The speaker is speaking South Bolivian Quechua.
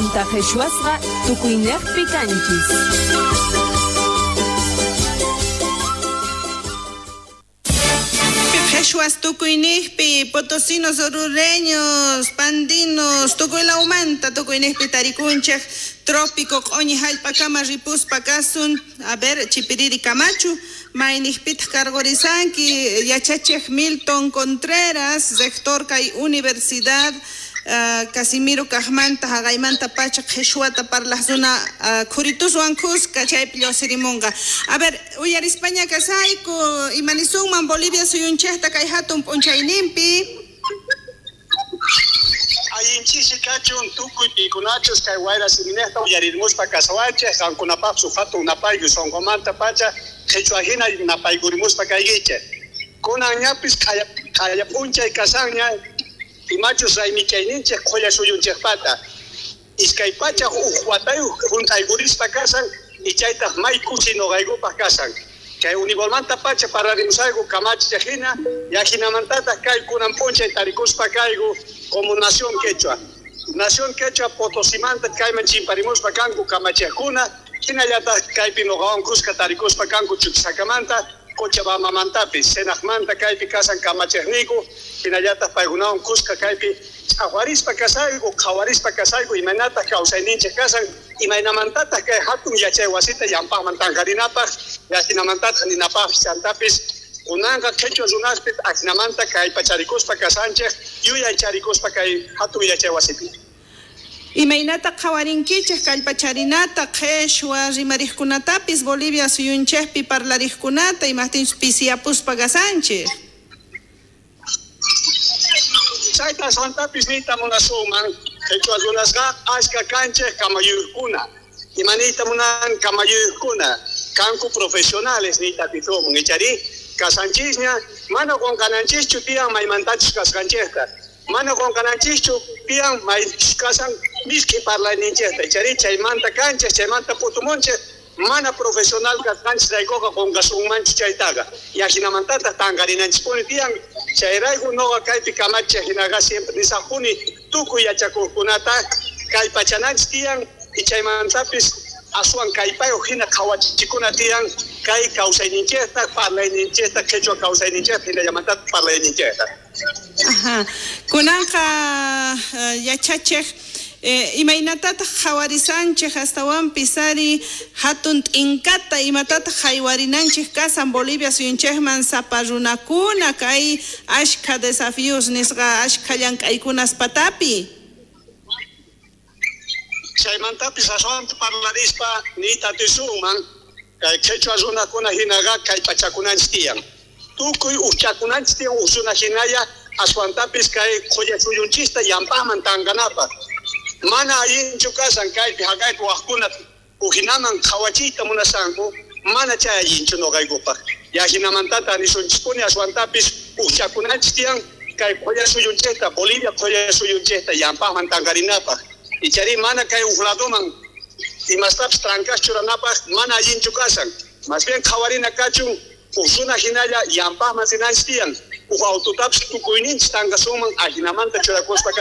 Chaymanta qhishwasqa tukuynejpi kanchis. Qheshwas tukuynejpi, potosinos, orureños, pandinos, tukuy lawmanta tukuynejpi tarikunchej, trópico q'oñi jallp'akama ripuspa kasun, a ver, Chipiriri Camacho, maynejpitaq karqurisanki, yachachej Milton Contreras, rector kay universidad Casimiro kajmanta jaqaymanta pacha qheshwata parlaj runa khurituswan khuska chaypi lluqsirimunqa. A ver, uyarispaña kasayku, imanisunman Bolivia suyunchejta kay hatun p'unchayninpi? Allin ch'isi kachun tukuy pikunachus kay wayra siminejta uyarirmuspa kasawanchej, qankunapajchu hatun napaykuy sonqomanta pacha qhichwa hina napaykurimuspa kaykichej. Kunan ñapis q'aya p'unchay kasanña imachus raymichayninchej qholla suyunchejpata. 201 watayuq junt'aykurispa kasan y chaytaj may kusi noqaykupaj kasan. Chay univolmanta pacha pararimusayku kamachiq hina, yajinamantataq kay kunan p'unchay tarikuspa kayku como Nación Quechua. Nación Quechua Potosimanta kayman chimparimuspa kanku kamachiqkuna, hinallataq kaypi noqawan kuska tarikuspa kanku Chuquisakamanta, Cochabambamantapis, Senaqmanta kaypi kasan kamachiqniyku, hinallataq paykunawan kuska kaypi ch'aqwarispa kasayku, qhawarispa kasayku, imaynataq kawsayninchik kasan, imaynamantataq kay hatun yachay wasita llampaqman tanqarinapaq, yajinamantataq ninapaqpis chantapis kunanqa qhichwa runaspis ajinamanta kallpacharikuspa kasanchik, yuyaycharikuspa kay hatun yachay wasipi. Imaynata qhawarinkichej kallpacharinata qheshwa rimarijkunatapis Bolivia suyunchejpi parlarijkunata imajtinchus pisiyapuspa kasanchej? Chayta aswantapis niyta munasunman, qhichwa runasqa ashka kanchej kamayuqkuna. Ima niyta munan kamayuqkuna, kanku profesionales niyta atisuman, icharí kasanchisña, mana qunqananchischu tiyan maymantachus kasqanchejta. Mana qunqananchischu tiyan maychus kasan misk'i parlayninchejta, icharí chaymanta kanchej, chaymanta p'utumunchej, mana profesional kasqanchisraykuqa qunqasunmanchu chaytaqa. Yajinamantataq tanqarinanchispuni tiyan, chayrayku noqa kaypi kamachiq hinaqa siempre nisaqpuni tukuy yachakuqkunata kallpachananchis tiyan y chaymantapis aswan kallpayuq hina qhawachikuna tiyan kay kawsayninchejta, parlayninchejta, qhichwa kawsayninchejta, hinallamantataq parlayninchejta. Ajá. Kunanqa yachachiq imaynatataq qhawarisanchej astawanpis ari hatun t'inkata, imatataq haywarinanchej kasan Bolivia suyunchejman sapa runakuna kay ashkha desafíos nisqa ashkha llank'aykunas patapi? Chaymantapis aswanta parlarispa niyta atisunman kay qhichwa runakuna hinaqa kallpachakunanchis tiyan. Tukuy ujchakunanchis tiyan uj runa hinalla aswantapis kay qhulla suyunchista llampaqman tanqanapaq. Mana allinchu kasan kaypi haqaypi waqkuna ujinaman qhawachiyta munasanku, mana chay allinchu noqaykupaq. Yajinamantata nisunchispuni aswantapis ujchakunanchis tiyan kay qhulla suyunchejta, Bolivia qhulla suyunchejta llampaqman tanqarinapaq. Icharí mana kay uj ladoman imastapis trankas churanapaq mana allinchu kasan. Más bien qhawarina kachun uj runa hinalla llampaqman rinanchis tiyan. Uj autotapis tukuyninchis tanqasunman ajinamanta churakuspa.